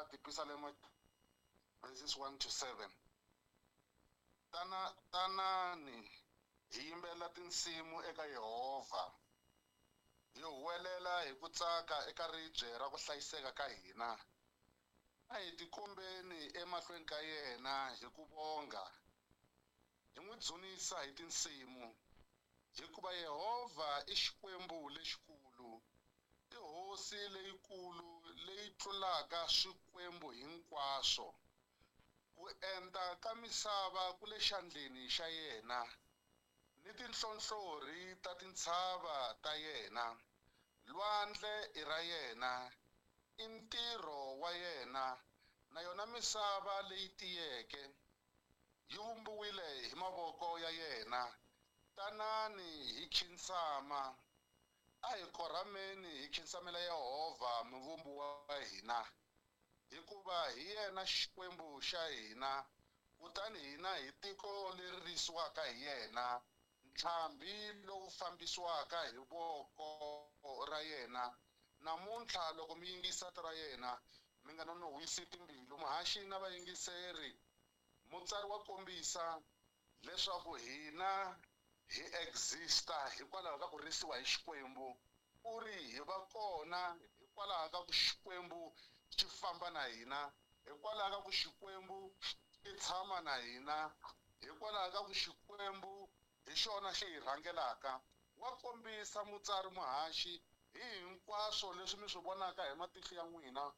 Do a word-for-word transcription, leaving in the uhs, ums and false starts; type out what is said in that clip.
Eka Tipisalema verses one to seven. Tana tanani hi yimbelela tinsimu eka Yehovha, hi huwelela hi ku tsaka eka ribye ra ku hlayiseka ka hina. A hi tikombeni emahlweni ka yena hi ku vonga, hi n'wi dzunisa hi tinsimu, hikuva Yehovha i Xikwembu lexikulu, i hosi leyikulu leyi tlulaka swikwembu hinkwaswo. Ku enta ka misava ku le xandleni xa yena, ni tinhlonhlorhi ta tintshava ta yena. Lwandle i ra yena, i ntirho wa yena, na yona misava leyi tiyeke yi vumbiwile hi mavoko ya yena. Tanani hi khinsama, a hi korhameni hi khinsamela Yehovha muvumbi wa hina, hikuva hi yena Xikwembu xa hina, kutani hina hi tiko leri risiwaka hi yena, ntlhambi lowu fambisiwaka hi voko ra yena. Namuntlha loko mi yingisa rito ra yena, mi nga nonohisi timbilu. Muhaxi na vayingiseri, mutsari wa kombisa leswaku hina hi exista hikwalaho ka ku risiwa hi Xikwembu. U ri hi va kona hikwalaho ka ku Xikwembu xi famba na hina, hikwalaho ka ku Xikwembu xi tshama na hina, hikwalaho ka ku Xikwembu hi xona xi hi rhangelaka. Wa kombisa mutsari muhaxi hi hinkwaswo leswi mi swi vonaka hi matihlo ya n'wina.